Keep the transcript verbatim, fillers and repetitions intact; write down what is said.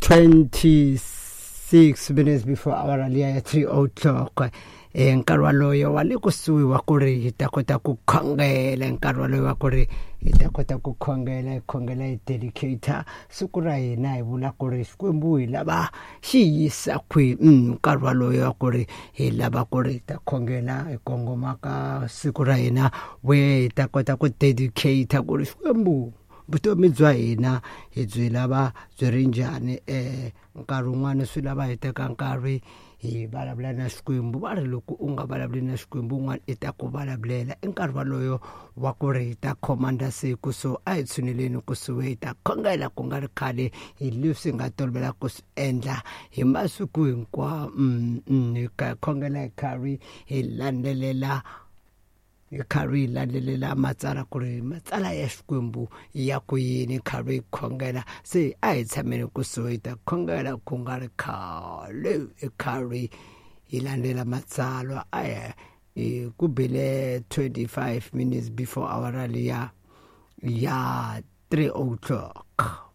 twenty-six minutes before hour liya ya three o'clock. E nkarhi waloyo wa le kusuhi wa ku ri hi ta kota ku khongela, nkarhi waloyo wa ku ri hi ta kota ku khongela, hi khongela hi dedicator siku ra hina, hi vula ku ri Xikwembu hi lava xi yisa kwihi. Nkarhi waloyo wa ku ri hi lava ku ri hi ta khongela hi kongoma ka siku ra hina, we hi ta kota ku dedicator ku ri Xikwembu vutomi bya hina hi byi lava byi ri njhani. Eh nkarhi wun'wani swi lava hi teka nkarhi hi vulavula na Xikwembu. Va ri loko u nga vulavuli na Xikwembu, un'wana i ta ku vulavulela. I nkarhi waloyo wa ku ri hi ta khomanda siku, so a hi tshuneleni kusuhi hi ta khongela ku nga ri khale, hi leswi hi nga tolovela ku swi endla hi masiku hinkwawo. Hi khongela hi karhi hi landzelela hi karhi hi landzelela matsalwa ku ri matsalwa ya Xikwembu ya ku yini, karhi hi khongela. Se a hi tshameni kusuhi hi ta khongela ku nga ri khale, hi karhi hi landzela matsalwa. A hi ku bile twenty-five minutes before hour liya ya three o'clock.